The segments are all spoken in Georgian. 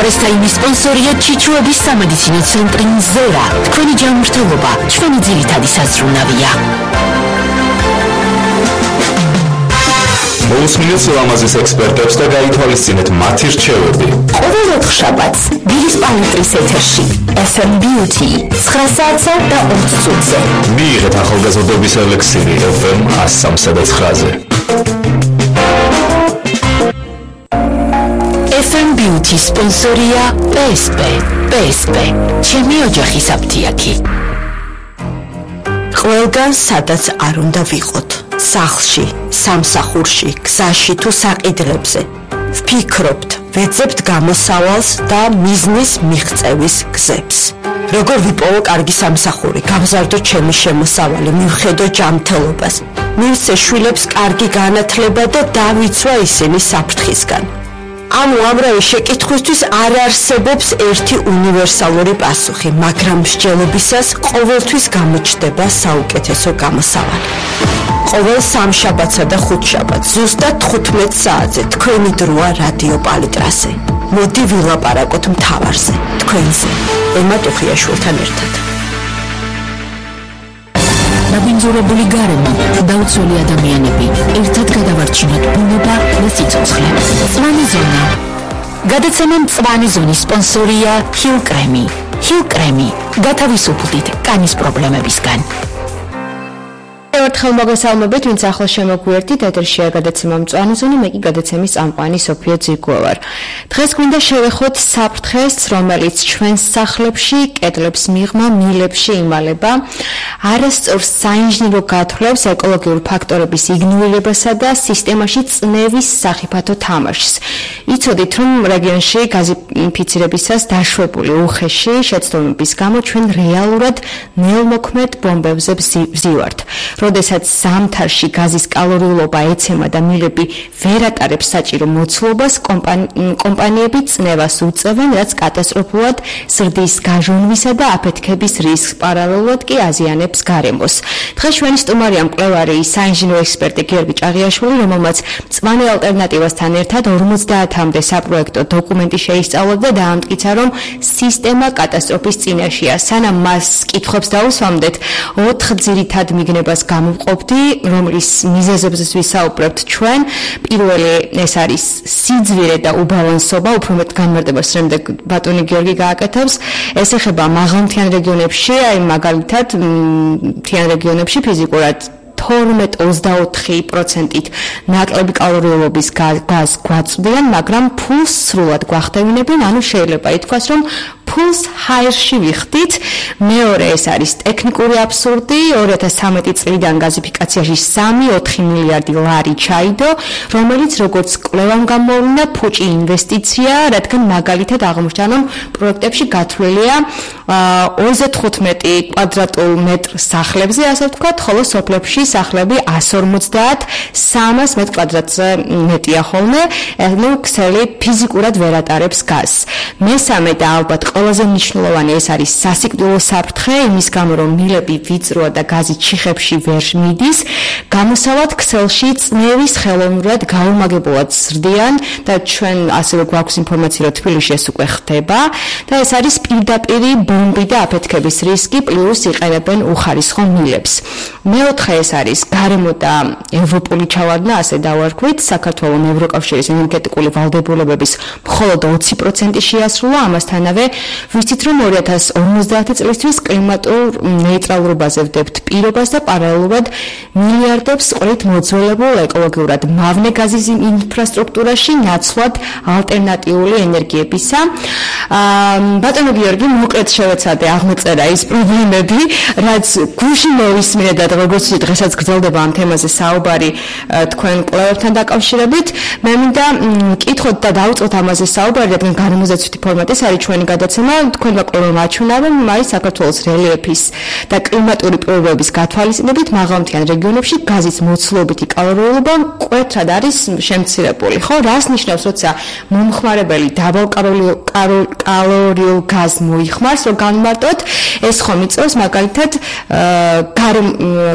პრესტაიმის სპონსორია ჩიჩუების სამედიცინო ცენტრი მზერა. თქვენი ჯანმრთელობა ჩვენი ძირითადი საზრუნავია. მოусმინეთ ლამაზის ექსპერტებს და გაითვალისწინეთ მათი რჩევები. ყოველ ოთხშაბათს დილის პალიტრის ეთერში FM Beauty 9 საათსა და 20 წუთზე. მიიღეთ ახალგაზრდობის ელექსირი FM 103 და 9-ზე. FM Beauty სპონსორია PSP. ჩემი ოჯახის აფთიაქი. ყველგან სადაც არ უნდა ვიყოთ. სახლში, სამსახურში, გზაში თუ საყიდლებზე. ვფიქრობთ, ვეძებთ გამოსავალს და მიზნის მიღწევის გზებს. როგორ ვიპოვო კარგი სამსახური, გავზარდო ჩემი შემოსავალი, მივხედო ჯანმრთელობას, მივცე შვილებს კარგი განათლება და დავიცვა ისინი საფრთხისგან. ამ უამრავი შეკითხვისთვის არ არსებობს ერთი უნივერსალური პასუხი, მაგრამ მსჯელობისას ყოველთვის გამოჩნდება საუკეთესო გამოსავალი. ყოველ სამშაბათსა და ხუთშაბათს ზუსტად 15 საათზე თქვენი დროა რადიო პალიტრაზე. მოდი ვილაპარაკოთ მთავარზე, თქვენზე, ემა ტუხიაშვილთან ერთად. ნაბინძურებული გარემო, დაუცველი ადამიანები, ერთად გადავარჩინოთ ბუნება და სიცოცხლე. მწვანე ზონა. გადაცემა მწვანე ზონის სპონსორია Hill Creme. Hill Creme. გათავისუფლდით კანის პრობლემებისგან. ერთხელ მოგესალმებით, ვინც ახლა შემოგვიერთით, ეთერშია გადაცემა მწვანე ზონი, მე კი გადაცემის წამყვანი სოფია ძიგუა ვარ. დღეს გვინდა შევეხოთ საფრთხეს, რომელიც ჩვენს სახლებში, კედლებს მიღმა, მილებში იმალება, არასწორ საინჟინრო გათვლებს, ეკოლოგიურ ფაქტორების იგნორირებასა და სისტემაში წნევის სახიფათო თამაშს. იცოდით, რომ რეგიონში გაზიფიცირებისას დაშვებული უხეში შეცდომების გამო ჩვენ რეალურად ნელმოქმედ ბომბებზე ვზივართ. როდესაც ზამთარში გაზის კალორიულობა ეცემა და მილები ვერ ატარებს საჭირო მოცულობას, კომპანიები წნევას უწევენ, რაც კატასტროფულად ზრდის გაჟონვისა და აფეთქების რისკს, პარალელურად კი აზიანებს გარემოს. დღეს ჩვენი სტუმარია მკვლევარი, საინჟინრო ექსპერტი გიორგი ჭაღიაშვილი, რომელმაც მწვანე ალტერნატივასთან ერთად 50-მდე საპროექტო დოკუმენტი შეისწავლა და დაამტკიცა, რომ სისტემა კატასტროფის წინაშეა. სანამ მას კითხვებს დაუსვამდეთ, 4 ძირითად მიგნებას გამოვყოფდი, რომლის მიზეზებზე ვისაუბრებთ ჩვენ. პირველი ეს არის სიძვირე და უბალანსობა, უფრო მეტ განმარტებას შემდეგ ბატონი გიორგი გააკეთებს. ეს ეხება მაღალმთიან რეგიონებში, აი მაგალითად მთიან რეგიონებში ფიზიკურად 12-24%-ით ნაკლები კალორიულობის გაზს გვაწვდიან, მაგრამ ფულს სრულად გვახდევინებენ, ანუ შეიძლება ითქვას, რომ ფულს ჰაერში ვიხდით. მეორე ეს არის ტექნიკური აბსურდი, 2013 წლიდან გაზიფიკაციაში 3-4 მილიარდი ლარი ჩაიდო, რომელიც როგორც კვლევამ გამოავლინა ფუჭი ინვესტიცია, რადგან მაგალითად აღმოჩნდა, რომ პროექტებში გათვლილია 25 კვადრატულ მეტრ სახლებზე, ასე ვთქვათ, ხოლო სოფლებში სახლები 150, 300 მეტ კვადრატზე მეტია ხოლმე, ანუ ქსელი ფიზიკურად ვერ ატარებს გაზს. მესამე და ალბათ ყველაზე მნიშვნელოვანი ეს არის სასიკვდილო საფრთხე, იმის გამო რომ მილები ვიწროა და გაზი ჩიხებში ვერ მიდის, გამოსავალ ქსელში წნევის ხელოვნურად გაუმაგებულად ზრდიან და ჩვენ ასევე გვაქვს ინფორმაცია, რომ თბილისში ეს უკვე ხდება და ეს არის პირდაპირ ბომბი და აფეთქების რისკი, პლუს იყენებენ უხარისხო მილებს. მეოთხე ეს არის გარემო და ევროპული ჩავარდნა, ასე დავარქვით, საქართველოს ევროკავშირის ენერგეტიკული ვალდებულებების მხოლოდ 20% შეასრულა, ამასთანავე ვიცით, რომ 2050 წლისთვის კლიმატურ ნეიტრალურობაზე ვდებთ პირობას და პარალელურად მილიარდებს ყრით მოძველებულ ეკოლოგიურად მავნე გაზის ინფრასტრუქტურაში ნაცვლად ალტერნატიული ენერგიებისა. ბატონო გიორგი, მოკლედ შევეცადე აღმოწერა ის პრობლემები, რაც გუშინ მოვისმინე და როგორც დღესაც გრძელდება ამ თემაზე საუბარი თქვენ კვლევებთან დაკავშირებით. მე მინდა კითხოთ და დავუწყოთ ამაზე საუბარი, რადგან გარემოზეცვითი ფორმატის არის ჩვენი გადაცემა, თქვენმა კვლევამ აჩვენავენ, არის საქართველოს რელიეფის და კლიმატური პირობების გათვალისწინებით მაღალმთიან რეგიონებში გაზის მოცულობითი კალორიულობა მკვეთრად არის შემცირებული. ხო, რას ნიშნავს, როცა მომხმარებელი დაბალკალორიულ გაზს მოიხმარს, რომ განმარტოთ, ეს ხომ იწევს მაგალითად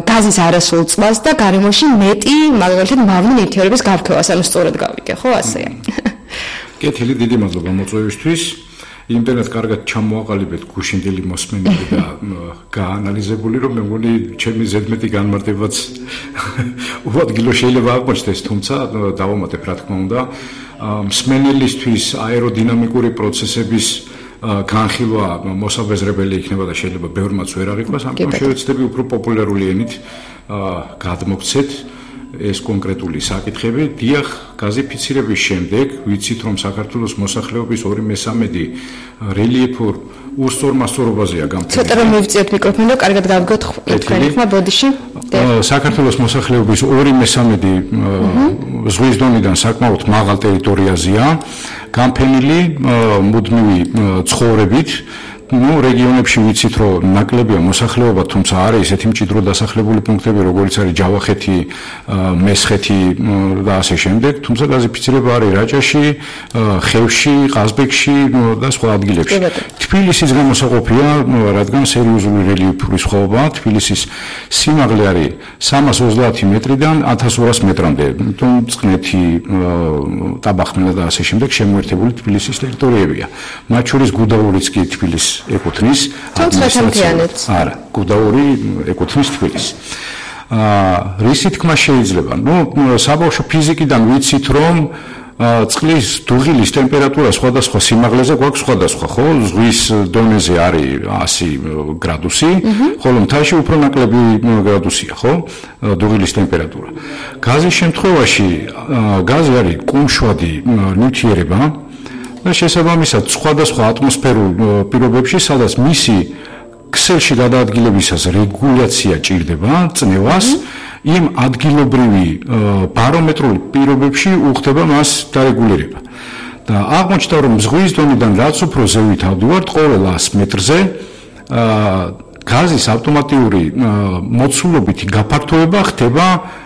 გაზის არასრულ წყალს და გარემოში მეტი მაგალითად მავნე ნივთიერების გარკვევას, ანუ სწორად გავიგე, ხო, ასეა. კეთილი, დიდი მადლობა მოწვევისთვის. იმდენად კარგად ჩამოაყალიბეთ გუშინდელი მოსმენები და გაანალიზებული, რომ მე მგონი ჩემი ზედმეტი განმარტებაც უადგილო შეიძლება აღმოჩნდეს, თუმცა დავამატებ რა თქმა უნდა, მსმენელისთვის აეროდინამიკური პროცესების განხილვა მოსაბეზრებელი იქნება და შეიძლება ბევრმაც ვერ აღიქვას, ამიტომ შევეცდები უფრო პოპულარული ენით გადმოგცეთ ეს კონკრეტული საკითხები. დიახ, გაზიფიცირების შემდეგ ვიცით, რომ საქართველოს მოსახლეობის 2/3 რელიეფურ ურსწორმასწორობაზეა გამთბილი. ცოტა რომ მივწიოთ მიკროფონი, რომ კარგად გავგოთ თქვენი ხმა ბოდიში. საქართველოს მოსახლეობის 2/3 ზღვის დონიდან საკმაოდ მაღალ ტერიტორიაზეა გამფენილი მუდმივი ცხოვრებით. რეგიონებში ვიცით, რომ ნაკლებია მოსახლეობა, თუმცა არის ესეთი მჭიდრო დასახლებული პუნქტები, როგორც არის ჯავახეთი, მესხეთი და ასე შემდეგ, თუმცა გაზიფიცირება არის რაჭაში, ხევში, ყაზბეგში და სხვა ადგილებში. თბილისის გამოსაყოფია, რადგან სერიოზული რელიეფური სხვაობაა. თბილისის სიმაღლე არის 330 მეტრიდან 1200 მეტრამდე. თუმ წყნეთი, ტაბახმელა და ასე შემდეგ შემოერთებული თბილისის ტერიტორიებია. მათ შორის გუდაურიც კი თბილისს ეკუთვნის ადმინისტრაციას. არა, გუდაური ეკუთვნის თბილისს. რისი თქმა შეიძლება? საბავშვო ფიზიკიდან ვიცით, რომ წყლის დუღილის ტემპერატურა სხვადასხვა სიმაღლეზე გვაქვს სხვადასხვა, ხო? ზღვის დონეზე არის 100 გრადუსი, ხოლო მთაში უფრო ნაკლები გრადუსია, ხო? დუღილის ტემპერატურა. გაზის შემთხვევაში გაზი არის კუმშვადი ნივთიერება და შესაბამისად სხვადასხვა ატმოსფერულ პირობებში, სადაც მისი ქსელში გადაადგილებისას რეგულაცია ჭირდება წნევას, იმ ადგილობრივი ბარომეტრული პირობებში უხდება მას დარეგულირება. და აღმოჩნდა, რომ ზღვის დონიდან რაც უფრო ზევით ავდივართ, ყოველ 100 მეტრზე გაზის ავტომატიური მოცულობითი გაფართოება ხდება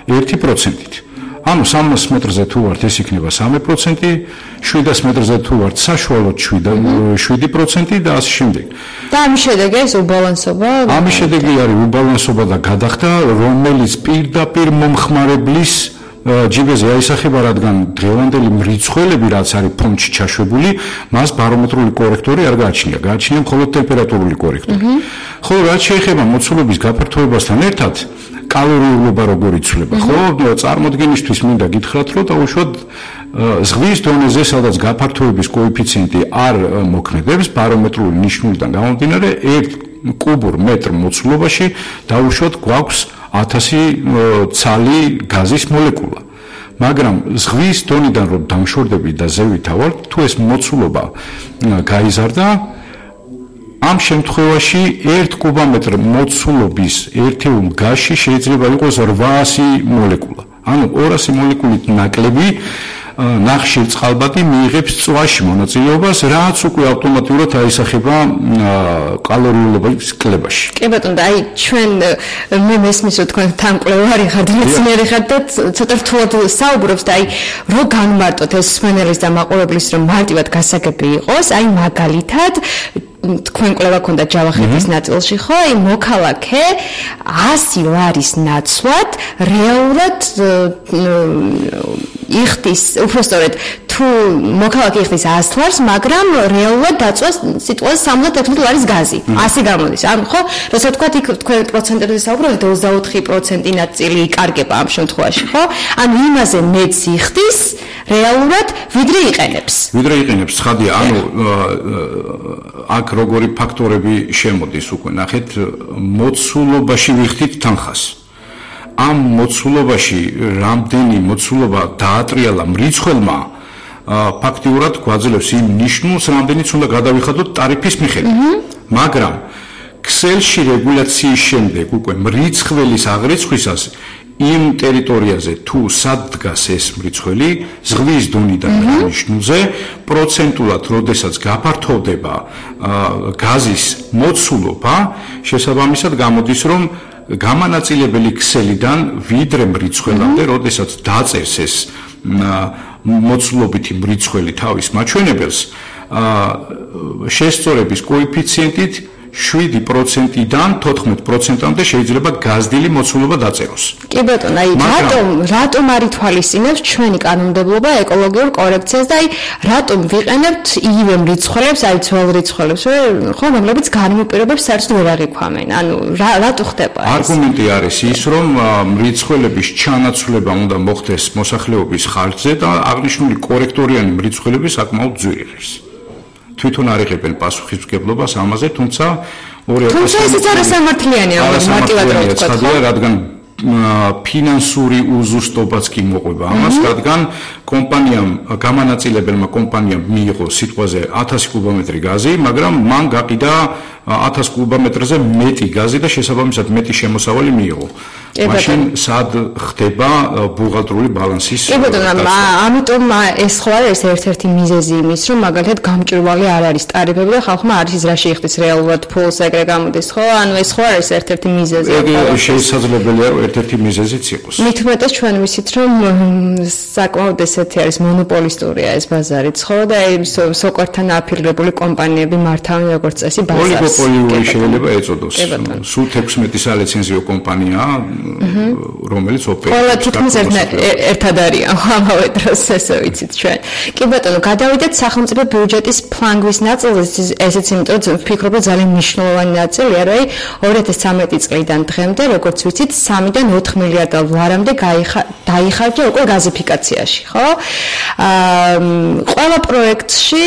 1%-ით. ანუ 300 მეტრზე თუ ვართ, ეს იქნება 3%, 700 მეტრზე თუ ვართ, საშუალოდ 7% და ასე შემდეგ. და ამის შედეგი ეს უბალანსობა? ამის შედეგი არის უბალანსობა და გადახდა, რომელიც პირდაპირ მომხმარებლის ჯიბეზე აისახება, რადგან დღევანდელი მრიცხველები, რაც არის ფონდში ჩაშვებული, მას ბარომეტრული კორექტორი არ გააჩნია, გააჩნია მხოლოდ ტემპერატურული კორექტორი. ხოლო რაც შეეხება მოცულობის გაფართოებასთან ერთად, კალორიულობა როგორ იცვლება, ხო? წარმოდგენისთვის მინდა გითხრათ, რომ დაუშვათ ზღვის დონეზე, სადაც გაფართოების კოეფიციენტი არ მოქმედებს, ბარომეტრული ნიშნულიდან გამომდინარე, 1 კუბურ მეტრ მოცულობაში დაუშვათ გვაქვს 1000 ცალი გაზის მოლეკულა. მაგრამ ზღვის დონიდან რომ დამშორდები და ზევით ავართ, თუ ეს მოცულობა გაიზარდა, ამ შემთხვევაში 1 კუბომეტრ მოცულობის ერთეულ გაზში შეიძლება იყოს 800 მოლეკულა. ანუ 200 მოლეკულით ნაკლები ნახშირ წყალბადი მიიღებს წვაში მონაწილეობას, რაც უკვე ავტომატურად აისახება კალორიულობის კლებაში. კი ბატონო, და აი ჩვენ მე მესმის რომ თქვენ თანკვლევარი ხართ, მეცნიერი ხართ და ცოტა რთულად საუბრობს და აი რო განმარტოთ ეს სმენელის და მაყურებლის რომ მარტივად გასაგები იყოს, აი მაგალითად თქვენ კვლევა ქონდა ჯავახეთის ნაწილში, ხო? აი მოქალაქე 100 ლარის ნაცვლად რეალურად იხდის, უბრალოდ თუ მოქალაქე იხდის 100 ლარს, მაგრამ რეალურად დაწვას სიტყვაზე 76 ლარის გაზი. ასე გამოდის. ანუ ხო, როცა თქვათ იქ თქვენ პროცენტებზე საუბრობთ, 24% ნაწილი იკარგება ამ შემთხვევაში, ხო? ანუ იმაზე მეც იხდის რეალურად, ვიდრე იყენებს. ვიდრე იყენებს, ხადია, ანუ აქ როგორი ფაქტორები შემოდის უკვე ნახეთ, მოცულობაში ვიხდით თანხას. ამ მოცულობაში რამდენი მოცულობა დაატრიალა მრიცხველმა, ფაქტიურად გვაძლევს იმ ნიშნულს, რამდენიც უნდა გადავიხადოთ ტარიფის მიხედვით. მაგრამ ქსელში რეგულაციის შემდეგ უკვე მრიცხველის აღრიცხვისას იმ ტერიტორიაზე თუ სად დგას ეს მრიცხველი, ზღვის დონიდან ნიშნულზე, პროცენტულად, როდესაც გაფართოვდება გაზის მოცულობა, შესაბამისად გამოდის, რომ გამანაწილებელი ქსელიდან ვიდრე მრიცხველამდე, როდესაც დაწერს ეს მოცულობითი მრიცხველი თავის მაჩვენებელს, შესწორების კოეფიციენტით 7%-დან 14%-მდე შეიძლება გაზრდილი მოცულობა დაწეროს. კი ბატონო, აი რატომ არ ითვალისწინებს ჩვენი კანონმდებლობა ეკოლოგიურ კორექციას და აი რატომ ვიყენებთ იგივე მრიცხველებს, აი ძველ რიცხველებს, ხო, რომლებიც განმოპირობებს საერთოდ ვერ აღიქვამენ. ანუ რატო ხდება ეს? არგუმენტი არის ის, რომ მრიცხველების ჩანაცვლება უნდა მოხდეს მოსახლეობის ხარჯზე და აღნიშნული კორექტორიანი მრიცხველები საკმაოდ ძვირი არის. თვითონ არ იღებენ პასუხისმგებლობას ამაზე, თუმცა ესეც არასამართლიანია, მარტივად რა ვთქვა, რადგან ფინანსური უზუსტობაც კი მოყვება ამას, რადგან კომპანიამ, გამანაწილებელმა კომპანიამ მიიღო სიტყვაზე 1000 კუბომეტრი გაზი, მაგრამ მან გაყიდა 1000 კუბომეტრზე მეტი გაზი და შესაბამისად მეტი შემოსავალი მიიღო. მაშინ სად ხდება ბუღალტრული ბალანსის? კი ბატონო, ამიტომ ეს ხო არის ერთ-ერთი მიზეზი იმის, რომ მაგალითად გამჭვირვალე არ არის ტარიფები და ხალხმა არ იცის რა შეიხდის რეალურად ფულს ეგრე გამოდის, ხო? ანუ ეს ხო არის ერთ-ერთი მიზეზი. შესაძლებელია რომ ერთ-ერთი მიზეზიც იყოს. მით უმეტეს ჩვენ ვიცით, რომ საკმაოდ ესეთი არის მონოპოლისტურია ეს ბაზარიც, ხო? და სოკორთან აფილირებული კომპანიები მართავენ როგორც წესი ბაზარს. ოლიგოპოლიური შეიძლება ეწოდოს. სულ 16 სალიცენზიო კომპანიაა, რომელიც ოპერირებს. ყველა თითქმის ერთად არის ამავე დროს, ესე ვიცით ჩვენ. კი ბატონო, გადავიდეთ სახელმწიფო ბიუჯეტის ფლანგვის ნაწილზე, ესეც იმიტომ რომ ვფიქრობ, რომ ძალიან მნიშვნელოვანი ნაწილია, რომ 2013 წლიდან დღემდე, როგორც ვიცით, 3-დან 4 მილიარდ ლარამდე დაიხარჯა უკვე გაზიფიკაციაში, ხო? ყველა პროექტში,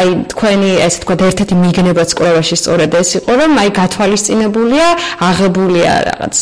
აი თქვენი ესე თქვა ერთ-ერთი მიგნებაც კვლევაში სწორედ ეს იყო, რომ აი გათვალისწინებულია, აღებულია რაღაც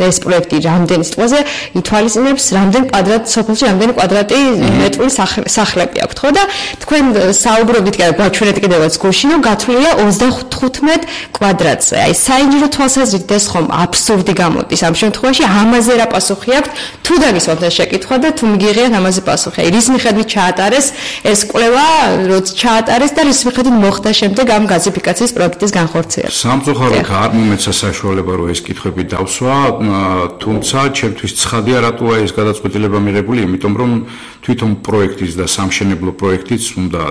ეს პროექტი რამდენი სიტყვაზე ითვალისწინებს, რამდენი კვადრატ სოფელში, რამდენი კვადრატი მეტრული სახლები აქვთ, ხო? და თქვენ საუბრობთ გაჩვენეთ კიდევაც გუშინ, რომ გათვლილია 35 კვადრატზე. აი საინჟინრო თვალსაზრისით ეს ხომ აბსურდი გამოდის ამ შემთხვევაში, ამაზე რა პასუხი აქვს? თუ დაგისვათ ეს შეკითხვა და თუ მიგიღიათ ამაზე პასუხი. აი რის მიხედვით ჩაატარეს ეს კვლევა, როცა ჩაატარეს და რის მიხედვით მოხდა შემდეგ ამ გაზიფიკაციის პროექტის განხორციელება? სამწუხაროდ არ მომეცა საშუალება რომ ეს კითხვები დავსვა, თუმცა ჩემთვის ცხადია რატოა ეს გადაწყვეტილება მიღებული, იმიტომ რომ თვითონ პროექტის და სამშენებლო პროექტიც უნდა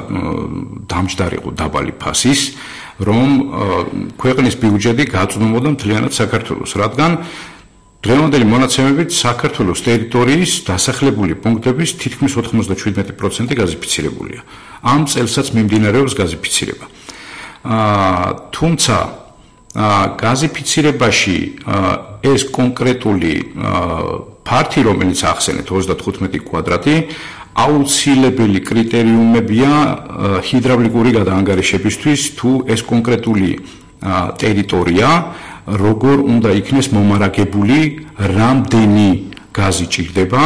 დამჯდარიყო დაბალი ფასის, რომ ქვეყნის ბიუჯეტი გაწვდომოდა მთლიანად საქართველოს, რადგან დღევანდელი მონაცემებით საქართველოს ტერიტორიის დასახლებული პუნქტების თითქმის 97% გაზიფიცირებულია. ამ წელსაც მიმდინარეობს გაზიფიცირება. თუმცა გაზიფიცირებაში ეს კონკრეტული ფართი, რომელიც ახსენეთ 35 კვადრატი, აუცილებელი კრიტერიუმებია ჰიდრავლიკური გადაანგარიშებისთვის, თუ ეს კონკრეტული ტერიტორია როგორ უნდა იქნეს მომარაგებული, რამდენი გაზი ჭირდება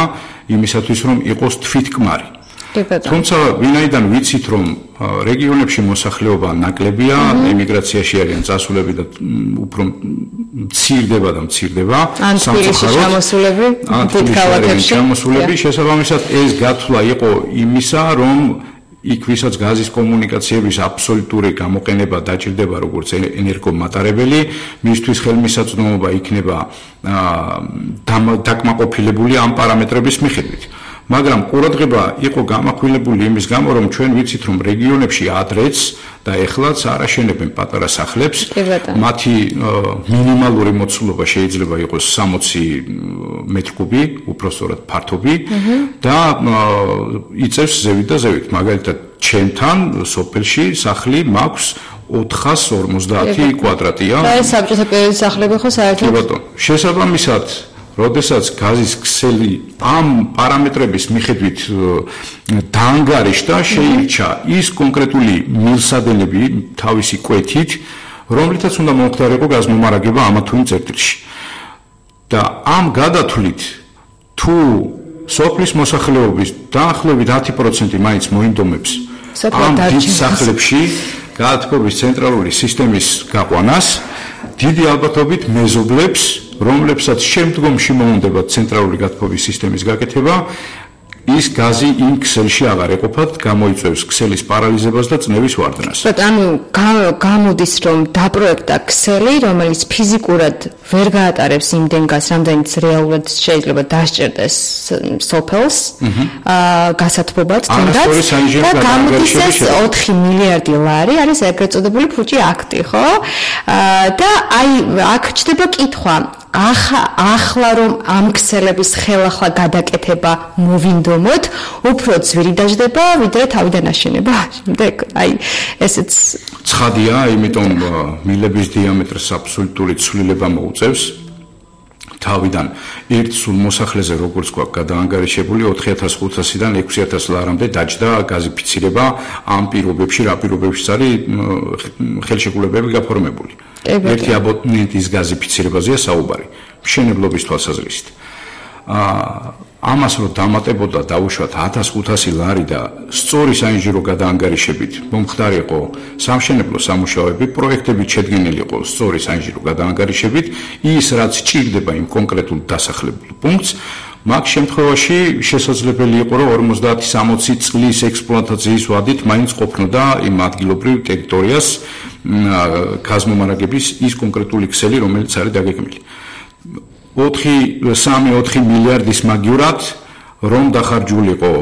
იმისათვის, რომ იყოს თვითკმარი. თუმცა ვინაიდან ვიცით, რომ რეგიონებში მოსახლეობა ნაკლებია, ემიგრაციაში არიან წასულები და უფრო მცირდება და მცირდება, სამწუხაროდ შესაბამისად ეს გათვლა იყო იმისა, რომ იქ ვისაც გაზის კომუნიკაციების აბსოლუტური გამოყენება დაჭირდება როგორც ენერგომატარებელი, მისთვის ხელმისაწვდომობა იქნება დაკმაყოფილებული ამ პარამეტრების მიხედვით. მაგრამ ყურადღება იყო გამახვილებული იმის გამო, რომ ჩვენ ვიცით, რომ რეგიონებში ადრეც და ეხლაც არაშენებენ პატარა სახლებს, მათი მინიმალური მოცულობა შეიძლება იყოს 60 მეტრკუბი, უпростоრად ფართობი და იწევს ზევით და ზევით. მაგალითად, ჩემთან სოფელში სახლი მაქვს 450 კვადრატია. და ეს საბჭოთა პერიოდის სახლები ხო საერთოდ? კი ბატონო, შესაბამისად როდესაც გაზის ქსელი ამ პარამეტრების მიხედვით დაანგარიშდა, შეირჩა ის კონკრეტული მილსადენები თავისი კვეთით, რომლითაც უნდა მომხდარიყო გაზმომარაგება ამა თუ იმ წერტილში. და ამ გადათვლით თუ სოფლის მოსახლეობის დაახლოებით 10% მაინც მოინდომებს ამ დიდ სახლებში გაათბობის ცენტრალური სისტემის გაყვანას, დიდი ალბათობით მეზობლებს, რომლებსაც შემდგომში მოუნდებათ ცენტრალური გათბობის სისტემის გაკეთება, ის გაზი იმ ქსელში აღარ ეყოფათ, გამოიწვევს ქსელის პარალიზებას და წნევის ვარდნას. ანუ გამოდის რომ დაპროექტა ქსელი, რომელიც ფიზიკურად ვერ გაატარებს იმდენ გაზს, რამდენიც რეალურად შეიძლება დასჭერდეს სოფელს, გასათბობად თუნდაც და გამოდის ეს 4 მილიარდი ლარი არის ეგრეთ წოდებული ფუჭი აქტი, ხო? და აი აქ ჩდება კითხვა ახლა რომ ამ ქსელების ხელახლა გადაკეთება მოვინდომოთ, უფრო ძვირი დაждდება, ვიდრე თავიდან აშენება. შემდეგ აი ესეც ცხადია, იმიტომ მილების დიამეტრს აბსოლუტური ცვლილება მოუწევს. თავიდან ერთ სულ მოსახლეზე როგორც გვაქვს გადაანგარიშებული 4500-დან 6000 ლარამდე დაჯდა გაზიფიცირება ამ პირობებში, რა პირობებშიც არის ხელშეკრულებები გაფორმებული. ერთი აბონენტის გაზიფიცირებაზეა საუბარი, მშენებლობის თვალსაზრისით. ამას რომ დამატებოდა დაუშვათ 1500 ლარი და სწორი საინჟინრო გადაანგარიშებით მომხდარიყო სამშენებლო სამუშაოები, პროექტები შედგენილი იყო სწორი საინჟინრო გადაანგარიშებით, ის რაც ჭირდება იმ კონკრეტულ დასახლებულ პუნქტს, მაგ შემთხვევაში შესაძლებელი იყო რომ 50-60 წლის ექსპლუატაციის ვადით მაინც ყოფნოდა იმ ადგილობრივ ტერიტორიას გაზმომარაგების ის კონკრეტული ქსელი, რომელიც არის დაგეგმილი. 3-4 მილიარდის მაგივრად რომ დახარჯულიყო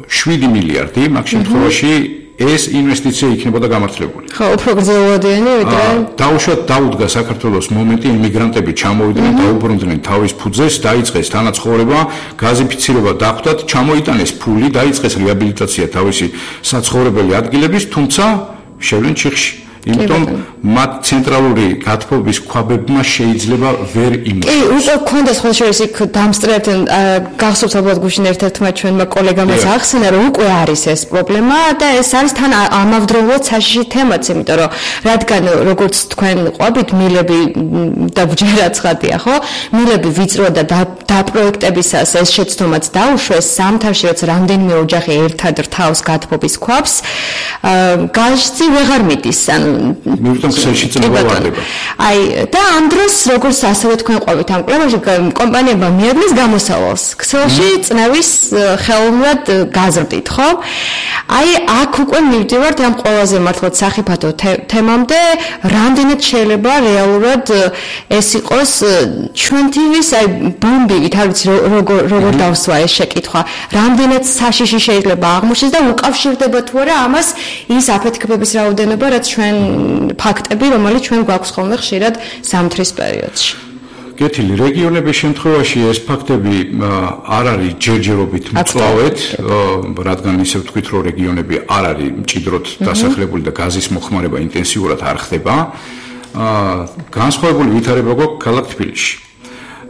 7 მილიარდი, მაგ შემთხვევაში ეს ინვესტიცია იქნებოდა გამართლებული. ხო, უფრო გრძელვადიანი, ვიდრე დაუშვათ დაუდგა საქართველოს მომენტი, იმიგრანტები ჩამოვიდნენ, დაუბრუნდნენ თავის ფუძეს, დაიწყეს თანაცხოვრება, გაზიფიცირება დახვდათ, ჩამოიტანეს ფული, დაიწყეს რეაბილიტაცია თავისი საცხოვრებელი ადგილების, თუმცა შევლენ ჩიხში. იმიტომ მათ ცენტრალური გათბობის ქვაბებმა შეიძლება ვერ იმუშაოს. კი, უკვე გქონდა სხვა შორის იქ დამსწრებთან გახსოვთ ალბათ გუშინ ერთ-ერთმა ჩვენმა კოლეგამაც ახსენა, რომ უკვე არის ეს პრობლემა და ეს არის თან ამავდროულად საშიში თემაც, იმიტომ რომ რადგან როგორც თქვენ ყვებით მილები და ბჯერა ცხადია, ხო? მილები ვიწრო და დაპროექტებისას ეს შეცდომაც დაუშვეს სამთავში, რაც რამდენიმე ოჯახი ერთად რთავს გათბობის ქვაბს, გაზი ვეღარ მიდის, ანუ მივიტომ ქსელში წნევა ვარდება. აი და ამ დროს როგორც ასევე თქვენ ყვებით ამ კვლევაში კომპანიებმა მიადგეს გამოსავალს ქსელში წნევის ხელოვნურად გაზრდით, ხო? აი აქ უკვე მივდივართ ამ ყველაზე მართლაც სახიფათო თემამდე, რამდენად შეიძლება რეალურად ეს იყოს ჩვენთვის აი ბომბივით, არ ვიცი როგორ დავსვა ეს შეკითხვა, რამდენად საშიში შეიძლება აღმოჩნდეს და უკავშირდება თუ არა ამას ის აფეთქებების რაოდენობა, რაც ჩვენ ფაქტები, რომელიც ჩვენ გვაქვს ხოლმე ხშირად ზამთრის პერიოდში. კეთილი, რეგიონების შემთხვევაში ეს ფაქტები არ არის ჯერჯერობით მწვავედ, რადგან ისე ვთქვით, რომ რეგიონები არ არის მჭიდროდ დასახლებული და გაზის მოხმარება ინტენსიურად არ ხდება. განსხვავებული ვითარება გვაქვს ქალაქ თბილისში.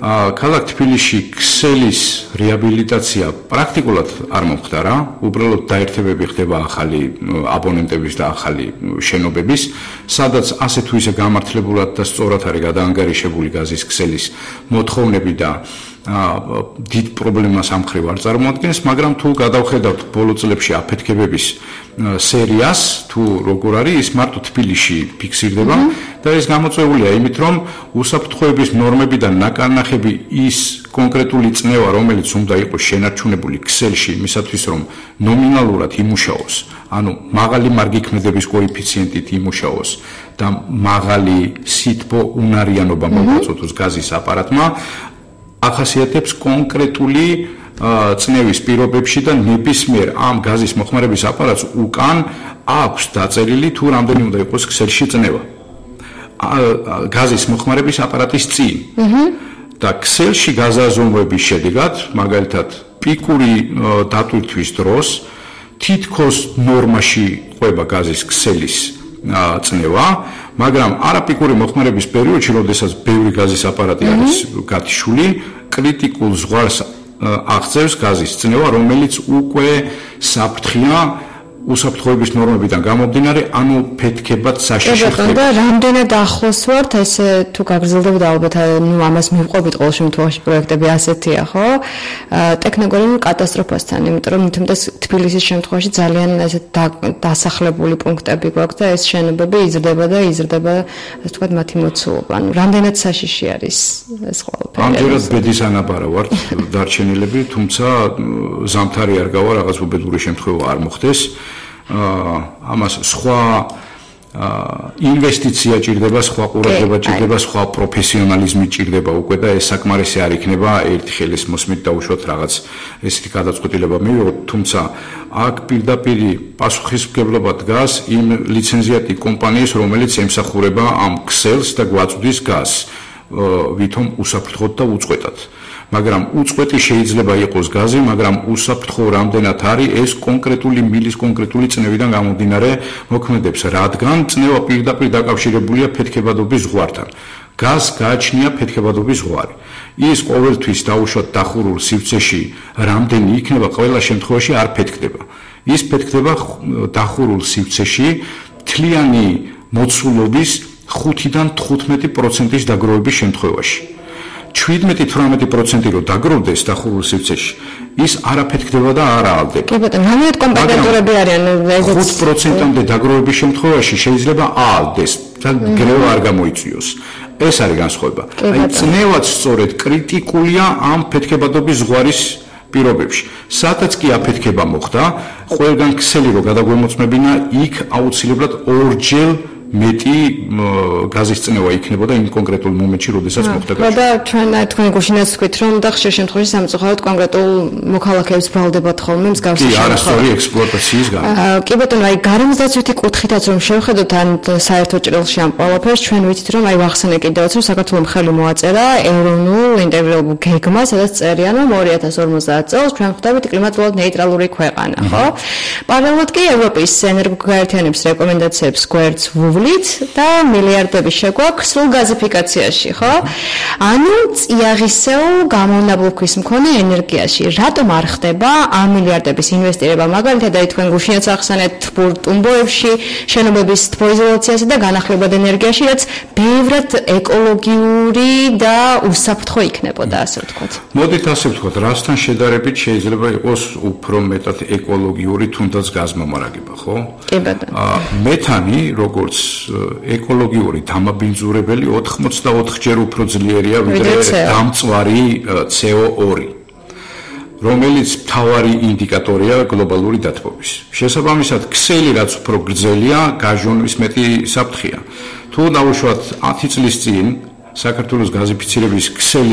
ქალაქ თბილისში ქსელის რეაბილიტაცია პრაქტიკულად არ მომხდარა, უბრალოდ დაერთებები ხდება ახალი აბონენტების და ახალი შენობების, სადაც ასე თუ ისე გამართლებულად და სწორად არის გადაანგარიშებული გაზის ქსელის მოთხოვნები და დიდ პრობლემას ამ მხრივ არ წარმოადგენს, მაგრამ თუ გადავხედავთ ბოლო წლებში აფეთქებების სერიას, თუ როგორ არის, ის მარტო თბილისში ფიქსირდება და ეს გამოწვეულია იმით, რომ უსაფრთხოების ნორმები და ნაკარნახები ის კონკრეტული წნევა, რომელიც უნდა იყოს შენარჩუნებული ქსელში, იმისათვის რომ ნომინალურად იმუშაოს, ანუ მაღალი მარგიქმედების კოეფიციენტით იმუშაოს და მაღალი სითბო უნარიანობა მოგაწოდოს გაზის აპარატმა, ახასიათებს კონკრეტული წნევის პირობებში და ნებისმიერ ამ გაზის მოხმარების აპარატს უკან აქვს დაწერილი თუ რამდენი უნდა იყოს ქსელში წნევა. გაზის მოხმარების აპარატის წინ. და ქსელში გაზაზომვების შედეგად, მაგალითად, პიკური დატვირთვის დროს თითქოს ნორმაში ყვება გაზის ქსელის წნევა, მაგრამ არაპიკური მოხმარების პერიოდში, როდესაც ბევრი გაზის აპარატი არის გათიშული, კრიტიკულ ზღვარს აღწევს გაზის წნევა, რომელიც უკვე საფრთხეა უსაფრთხოების ნორმებიდან გამომდინარე, ანუ ფეთქებად საშიში ხდება. და რამდენად ახლოს ვართ, ესე თუ გაგრძელდებოდა ალბათ, ამას მივყვებით ყოველ შემთხვევაში პროექტები ასეთია, ხო? ტექნოგენურ კატასტროფასთან, იმიტომ რომ თბილისის შემთხვევაში ძალიან ესეთ დასახლებული პუნქტები გვაქვს და ეს შენობები იზრდება და იზრდება, ასე ვთქვათ, მათი მოცულობა. ანუ რამდენად საშიში არის ეს ყველაფერი? ამჯერად ბედის ანაბარა ვართ დარჩენილები, თუმცა ზამთარი არ გავა, რაღაც უბედური შემთხვევა არ მოხდეს. ამას სხვა ინვესტიცია ჭირდება, სხვა ყურადღება ჭირდება, სხვა პროფესიონალიზმი ჭირდება უკვე და ეს საკმარისი არ იქნება ერთი ხელის მოსმით დაუშვათ რაღაც ესეთი გადაწყვეტილება მივიღოთ, თუმცა აქ პირდაპირ პასუხისმგებლობა დგას იმ ლიცენზიატი კომპანიის, რომელიც ემსახურება ამ ქსელს და გვაწვდის გაზს, ვითომ უსაფრთხოდ და უწყვეტად. მაგრამ უწყვეტი შეიძლება იყოს გაზი, მაგრამ უსაფრთხო რამდენად არის ეს კონკრეტული მილის კონკრეტული წნევიდან გამომდინარე მოქმედებს, რადგან წნევა პირდაპირ დაკავშირებულია ფეთქებადობის ზღვართან. გაზს გააჩნია ფეთქებადობის ზღვარი. ის ყოველთვის დაუშვათ დახურულ სივრცეში რამდენი იქნება, ყველა შემთხვევაში არ ფეთქდება. ის ფეთქდება დახურულ სივრცეში მთლიანი მოცულობის 5-დან 15%-ის დაგროვების შემთხვევაში. 17-18% რო დაგროვდეს დახურულ სივრცეში, ის არაფეთქდება და არ აალდება. კი ბატონო, რამდენად კომპეტენტურები არიან ესეც 5%-მდე დაგროვების შემთხვევაში შეიძლება აალდეს და გრევა არ გამოიწვიოს. ეს არის განსხვავება. აი წნევაც სწორედ კრიტიკულია ამ ფეთქებადობის ზღვარის პირობებში. სადაც კი აფეთქება მოხდა, ყველგან ქსელი რო გადაგვემოწმებინა, იქ აუცილებლად ორჯერ მეტი გაზის წნევა იქნებოდა იმ კონკრეტულ მომენტში, როდესაც მოხდა გაჩვენა. და თქვენი გუშინაც თქვით, რომ და ხშირ შემთხვევაში სამწუხაროდ კონკრეტულ მოქალაქეებს ბრალდებათ ხოლმე მსგავსი შემთხვევა. კი, არასწორი ექსპლუატაციის გამო. კი ბატონო, აი გარემოსდაცვითი კუთხითაც რომ შევხედოთ ან საერთო ჭრილში ამ ყველაფერს, ჩვენ ვიცით, რომ აი ვახსენე კიდევაც, რომ საქართველოს ხელი მოაწერა ეროვნულ ინტეგრირებულ გეგმას, სადაც წერიან, რომ 2050 წელს ჩვენ ხდებით კლიმატურად ნეიტრალური ქვეყანა, ხო? პარალელურად კი ევროპის ენერგოგაერთიანების რეკომენდაციებს გვერდს და მილიარდები შეგვაქვს სულ გაზიფიკაციაში, ხო? ანუ წიაღისეულ გამონაბლუქვის მქონე ენერგიაში. რატომ არ ხდება ამ მილიარდების ინვესტირება? მაგალითად, აი თქვენ გუშინაც ახსენეთ ტუმბოებში შენობების თბოიზოლაციასა და განახლებად ენერგიაში, რაც ბევრად ეკოლოგიური და უსაფრთხო იქნებოდა, ასე ვთქვათ. მოდით ასე ვთქვათ, რასთან შედარებით შეიძლება იყოს უფრო მეტად ეკოლოგიური, თუნდაც გაზმომარაგება, ხო? კი ბატონო. მეთანი, როგორც ეკოლოგიური დამაბინძურებელი 84-ჯერ უფრო ძლიერია ვიდრე დამწვარი CO2, რომელიც მთავარი ინდიკატორია გლობალური დათბობის. შესაბამისად, ქსელი რაც უფრო გრძელია, გაჟონვის მეტი საფრთხეა. თუ დავუშვათ 10 წლის წინ საქართველოს გაზიფიცირების ქსელი